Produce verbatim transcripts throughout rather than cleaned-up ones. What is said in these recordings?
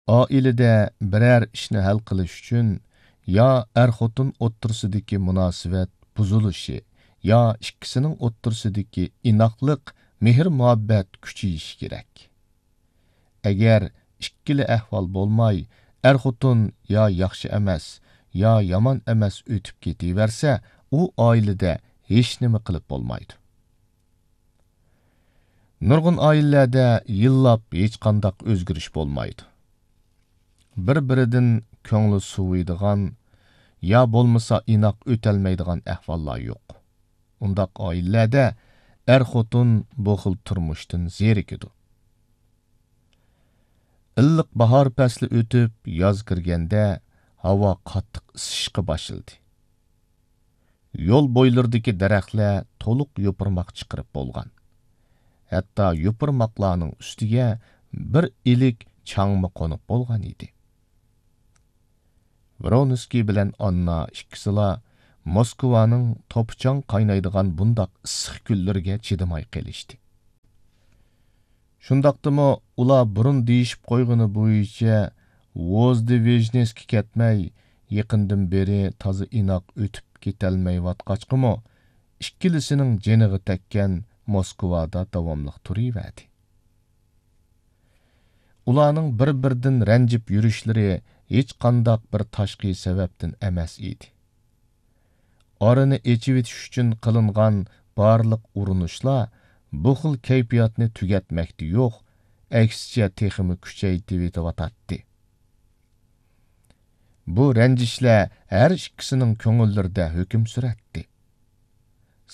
ئائىلىدە بىرەر ئىشنى ھەل قىلىش ئۈچۈن يا ئەر-خوتۇن ئوتتۇرىسىدىكى مۇناسىۋەت بۇزۇلۇشى، يا ئىككىسىنىڭ ئوتتۇرىسىدىكى ئىناقلىق، مېھىر-مۇھەببەت كۈچىيىشى كېرەك. ئەگەر ئىككىلا ئەھۋال بولماي، ئەر-خوتۇن يا ياخشى ئەمەس، يا يامان ئەمەس ئۆتۈپ كېتىۋەرسە، ئۇ ئائىلىدە ھېچنېمە قىلىپ بولمايدۇ. نۇرغۇن ئائىلىلەردە يىللاپ ھېچقانداق ئۆزگىرىش بولمايدۇ. بىر-بىرىدىن كۆڭلى سۇۋۇيدىغان يا بولمىسا ئىناق ئۆتەلمەيدىغان ئەھۋاللار يوق. ئۇنداق ئائىلىلەردە ئەر-خوتۇن بۇ خىل تۇرمۇشتىن زېرىكىدۇ. ئىللىق باھار پەسلى ئۆتۈپ، ياز كىرگەندە، ھاۋا قاتتىق ئىسسىشقا باشلىدى. يول بويلىرىدىكى دەرەخلەر تولۇق يوپۇرماق چىقىرىپ بولغان. ھەتتا يوپۇرماقلارنىڭ ئۈستىگە بىر ئىلىك چاڭمۇ قونۇپ بولغان ئىدى. ۋرونسكىي بىلەن ئاننا ئىككىسىلا موسكۋانىڭ توپا-چاڭ قاينايدىغان بۇنداق ئىسسىق كۈنلىرىگە چىدىماي قېلىشتى. شۇنداقتىمۇ ئۇلار بۇرۇن دېيىشىپ قويغىنى بويىچە ۋوزدېۋژنېسكا كەتمەي، يېقىندىن بېرى تازا ئىناق ئۆتۈپ كېتەلمەيۋاتقاچقىمۇ، ئىككىلىسىنىڭ جېنىغا تەگكەن موسكۋادا داۋاملىق تۇرۇۋەردى. ئۇلارنىڭ بىر-بىرىدىن رەنجىپ يۈرۈشلىرى ھېچقانداق بىر تاشقى سەۋەبتىن ئەمەس ئىدى. ئارىنى ئېچىۋېتىش ئۈچۈن قىلىنغان بارلىق ئۇرۇنۇشلار بۇ خىل كەيپىياتنى تۈگەتمەكتە يوق، ئەكسىچە تېخىمۇ كۈچەيتىۋېتىۋاتاتتى. بۇ رەنجىشلەر ھەر ئىككىسىنىڭ كۆڭۈللىرىدە ھۆكۈم سۈرەتتى.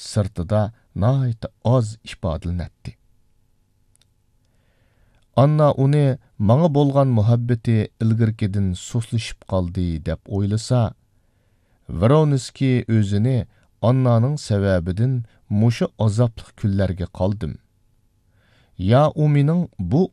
سىرتىدا ناھايىتى ئاز ئىپادىلىنەتتى. ئاننا ئۇنى ماڭا بولغان مۇھەببىتى ئىلگىرىكىدىن سۇسلىشىپ قالدى دەپ ئويلىسا، ۋرونسكىي ئۆزىنى ئاننانىڭ سەۋەبىدىن مۇشۇ ئازابلىق كۈنلەرگە قالدىم. يا ئۇ مېنىڭ بۇ